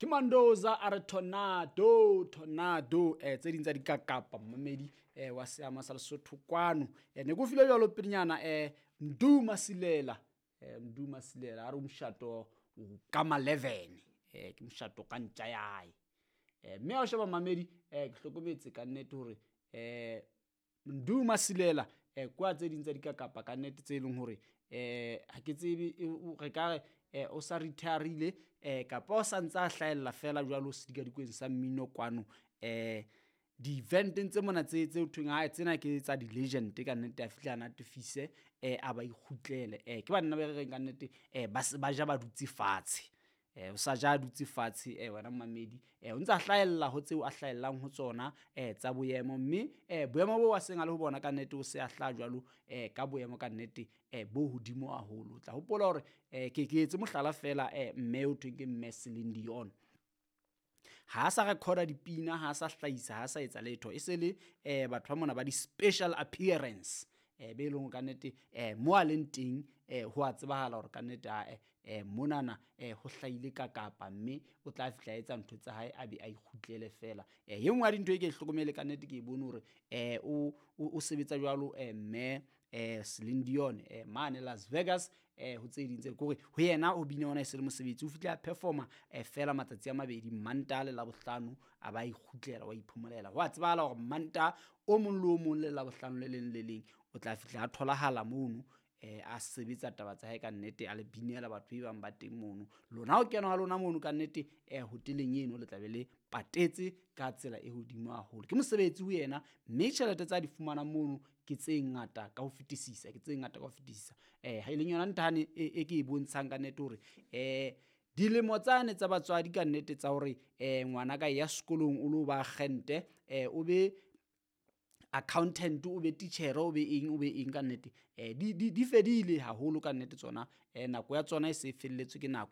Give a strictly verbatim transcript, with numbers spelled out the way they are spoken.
Ke Mandoza a re tornado tornado eh tse ding tsa dikakapa mmamedi eh wa seama sa Lesotho kwano. Eh ne ke o file jwalo pelenyana eh Mdu Masilela eh Mdu Masilela a re moshato ka ma eleven eh ke moshato ka ntja ya hae. Eh mme ha o sheba mmamedi eh ke hlokometse ka nnete hore eh Mdu Masilela eh kwa tse ding tsa dikakapa ka nnete tse leng hore eh ha ke tsebe re ka re eh o sa retire-ile eh kapa o sa ntsa hlahella fela jwalo sedikadikweng sa mmino kwano eh di-eventeng tse mona tse tse thweng ha tsena ke tsa di-legend ka nnete a fihla a natefise eh a ba ikgutlele. Eh ke banna ba re reng ka nnete eh ba se ba ja ba dutse fatshe. Eh o sa ja dutse fatshe eh wena mmamedi eh o ntsa hlahella ho tseo a hlahellang ho tsona eh tsa boemo mme eh boemo bo a seng a le ho bona ka nnete o se a hlaha jwalo eh ka boemo ka nnete eh bo hodimo haholo. O tla hopola hore eh ke ke etse mohlala fela eh mme o thweng ke mme Celine Dion. Ha sa recorda dipina, ha sa hlahisa, ha sa etsa letho, e se le eh batho ba mona ba di-special appearance eh be leng ka nnete eh mo a leng teng eh ho a tsebahala hore ka nnete a eh monana eh ho hlahile ka kapa mme o tla fihla etsa ntho tsa hae a be a ikgutlele fela. Eh e nngwe ya dintho e ke e hlokomele ka nnete ke e bone hore eh o o sebetsa jwalo eh mme eh Celine Dion eh mane Las Vegas eh ho tse ding tse kore ho yena o bina ona e se le mosebetsi o fihla a performa eh fela matsatsi a mabedi Mantaha le Labohlano a ba ikgutlela wa iphomolela. Ho a tsebahala hore Mantaha o mong le o mong le Labohlano le leng le leng o tla fihla a tholahala mono eh a sebetsa taba tsa hae ka nnete a le binela batho ba bang ba teng mono. Lona ho kena ha lona mono ka nnete eh hoteleng eno le tla be le patetse ka tsela e hodimo haholo. Ke mosebetsi ho yena mme tjhelete tsa di fumanang mono ke tse ngata ka ho fetisisa, ke tse ngata ka ho fetisisa. Eh ha e leng yona nthane e ke e bontshang ka nnete hore eh dilemo tsane tsa batswadi ka nnete tsa hore eh ngwana ka ya sekolong o lo ba agente eh o be accountant o be teacher o be eng o be eng ka nnete eh di di di fedile haholo ka nnete tsona eh nako ya tsona e se felletswe ke nako.